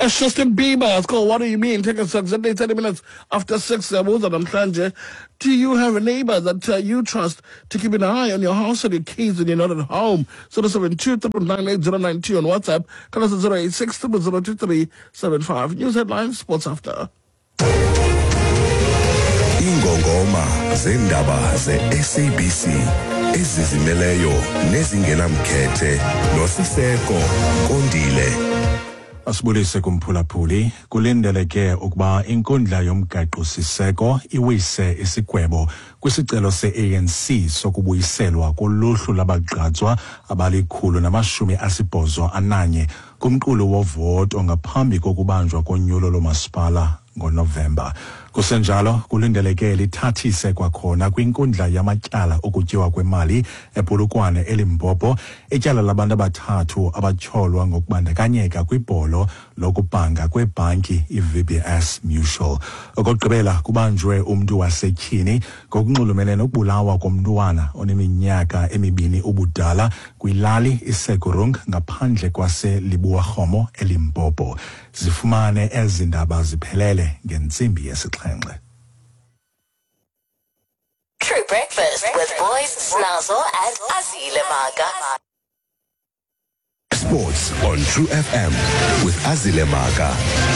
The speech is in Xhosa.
That's Justin Bieber. It's called What Do You Mean? Take us exactly 30 minutes after 6. Siyabuza namhlanje. Do you have a neighbor that you trust to keep an eye on your house and your kids when you're not at home? 072 998 on WhatsApp. Call us at 086 0002375. News headlines, sports after. Ingongoma zeendaba ze-SABC ezizimeleyo nezingenamkhethe noSiseko Kondile. Asibulise kumphulaphuli. Kulindeleke ukuba inkundla yomgaqo-siseko iwise isigwebo kwisicelo se-ANC sokubuyiselwa koluhlu labagqatswa abali-181 kumqulu wovoto ngaphambi kokubanjwa konyulo lomasipala ngoNovemba. Kusenjalo, kulindeleke lithathise kwakhona kwinkundla yamatyala okutyiwa kwemali ePolokwane eLimpopo ityala labantu abathathu abatyholwa ngokubandakanyeka kwibholo lokubhanga kwebhanki iVBS Mutual. Okokugqibela, kubanjwe umntu wasetyhini ngokunxulumene nokubulawa komntwana oneminyaka emibini ubudala kwilali iSegurung ngaphandle kwaseLibuwarhomo eLimpopo. Zifumane ezi ndaba ziphelele ngentsimbi yesixhenxe. True Breakfast with Boys, Snazo, and Azile Maga. Sports on True FM with Azile Maka.